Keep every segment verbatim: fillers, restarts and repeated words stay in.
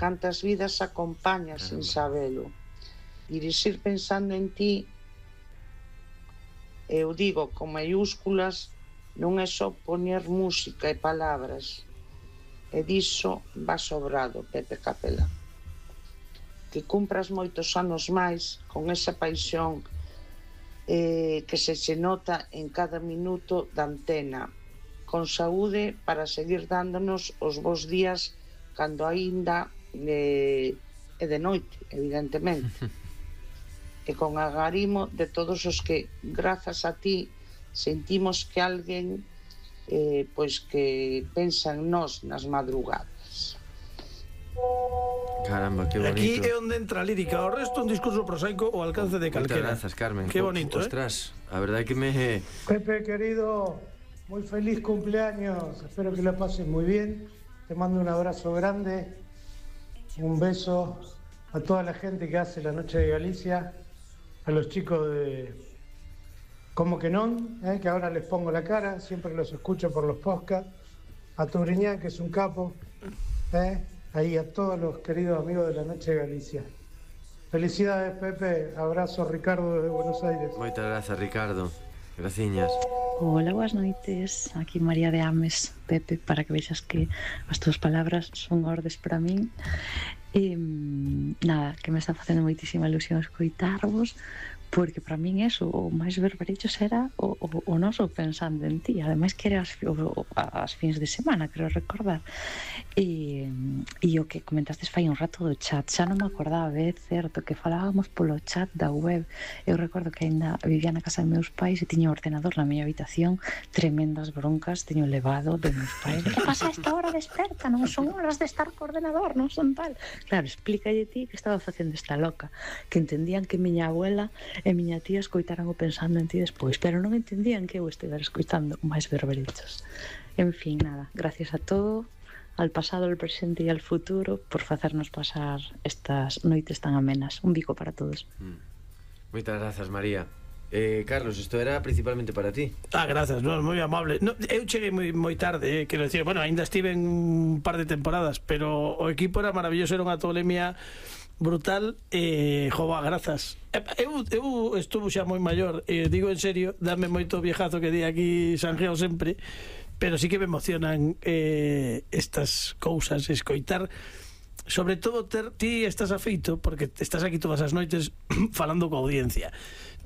cantas vidas acompañas sin sabelo. Dirixir pensando en ti, eu digo con maiúsculas, non é só poñer música e palabras, e diso va sobrado, Pepe Capelán. Que cumpras moitos anos máis con esa paixón eh, que se se nota en cada minuto da antena, con saúde para seguir dándonos os bons días cando aínda eh, é de noite, evidentemente. E con agarimo de todos os que, grazas a ti, sentimos que alguén eh, pois que pensa en nós nas madrugadas. Caramba, que bonito. Aquí é onde entra a lírica, o resto un discurso prosaico o alcance de calquera. Moitas grazas, Carmen. Que bonito, eh? Ostras, a verdade é que me... Pepe, querido, muy feliz cumpleaños. Espero que lo pases muy bien. Te mando un abrazo grande, un beso a toda la gente que hace la Noche de Galicia, a los chicos de Como que non, eh, que ahora les pongo la cara, siempre los escucho por los podcasts, a Turiñán, que es un capo, eh, ahí a todos los queridos amigos de la Noche de Galicia. Felicidades, Pepe. Abrazo, Ricardo, desde Buenos Aires. Moitas grazas, Ricardo. Graciñas. Hola, boas noites. Aquí María de Ames, Pepe, para que vexas que as túas palabras son ordes para min. E, nada, que me está facendo moitísima ilusión escoitarvos, porque para min eso, o máis berberechos era o, o, o noso pensando en ti, ademais que era as, o, as fins de semana, creo recordar. E, e o que comentaste fai un rato do chat, xa non me acordaba, é certo que falábamos polo chat da web. Eu recordo que ainda vivía na casa de meus pais e tiña o ordenador na miña habitación, tremendas broncas teño levado de meus pais. Que pasa a esta hora desperta? Non son horas de estar co ordenador, non son tal. Claro, explícalle ti que estaba facendo esta loca, que entendían que miña abuela e miña tía escoitaran o pensando en ti despois, pero non entendían que eu estivera escoitando máis berberechos. En fin, nada, gracias a todo, al pasado, al presente e al futuro, por facernos pasar estas noites tan amenas. Un bico para todos. Mm. Moitas grazas, María. Eh, Carlos, isto era principalmente para ti. Ah, grazas, non, moi amable. No, eu cheguei moi, moi tarde, eh, quero decir, bueno, ainda estive en un par de temporadas, pero o equipo era maravilloso, era unha tolemia brutal. E, eh, jova, grazas. Eu, eu estuvo xa moi maior, e eh, digo en serio, dame moito viejazo que di aquí Sanjeo sempre, pero sí que me emocionan eh, estas cousas, escoitar, sobre todo ter, ti estás afeito porque estás aquí todas as noites falando coa audiencia,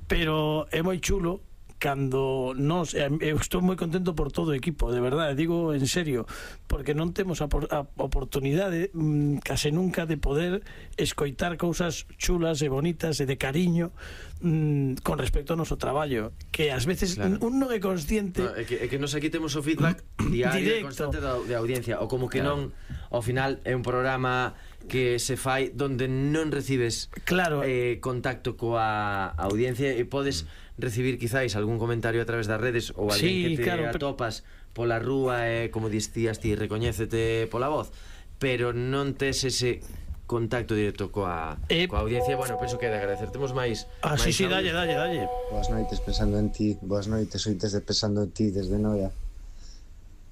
pero é moi chulo cando nos, eu estou moi contento por todo o equipo, de verdade, digo en serio, porque non temos a, a oportunidade mmm, case nunca de poder escoitar cousas chulas e bonitas e de cariño mmm, con respecto ao noso traballo, que ás veces claro. un non é consciente. No, é, que, é que nos aquí temos o feedback diario e constante da, de audiencia, ou como que claro. non, ao final é un programa que se fai donde non recibes claro. eh, contacto coa audiencia e podes recibir quizáis algún comentario a través das redes ou alguén sí, que te claro, atopas pero... pola rúa e, como dicías ti, recoñécete pola voz, pero non tes ese contacto directo coa, eh... coa audiencia. Bueno, penso que de agradecer. Temos máis... Ah, máis sí, sí, dalle, dalle, dalle. Boas noites pensando en ti, boas noites, oites de pensando en ti desde Noia.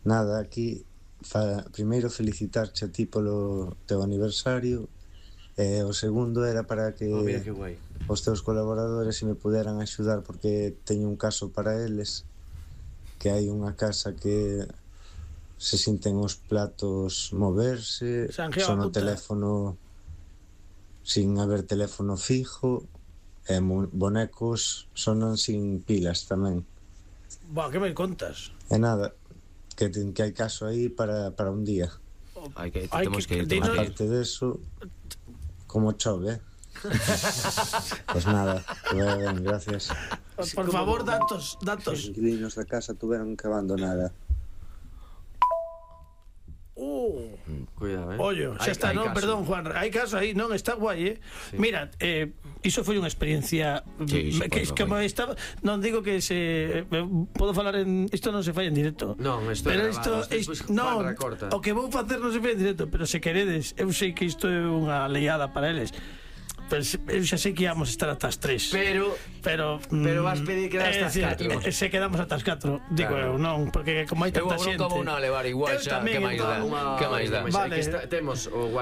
Nada, aquí fa, primeiro felicitarche a ti polo teu aniversario, e o segundo era para que, oh, mira, que guai, os teus colaboradores se me puderan axudar, porque teño un caso para eles, que hai unha casa que se sinten os platos moverse, son o teléfono sin haber teléfono fijo, e bonecos sonan sin pilas tamén. Buah, que me contas? E nada, que, que hai caso aí para, para un día. Hai que, Ay, temos que, que ir, que aparte de eso, como chove, eh? Pues nada, que vaya ben, gracias. Por favor, datos, datos. Os inquilinos da casa tuveron que abandonar. Uh, cuidado, eh. Ollo, xa está, non, perdón, Juan, hai caso aí, non, está guai, eh. Sí. Mira, eh, iso foi unha experiencia sí, que, que me estaba, non digo que se eh, podo falar en isto, non se fai en directo. Non, isto pero é grabado, isto, isto non, o que vou facer non se fai en directo, pero se queredes, eu sei que isto é unha leiada para eles. Pero eu xa sei que íamos estar ata as tres. Pero Pero Pero vas pedir que hasta as catro. Se quedamos ata as catro, digo eu, non, porque como hai tanta xente. Eu non como non a levar igual xa, que máis dá? Que máis dá? Vale, temos o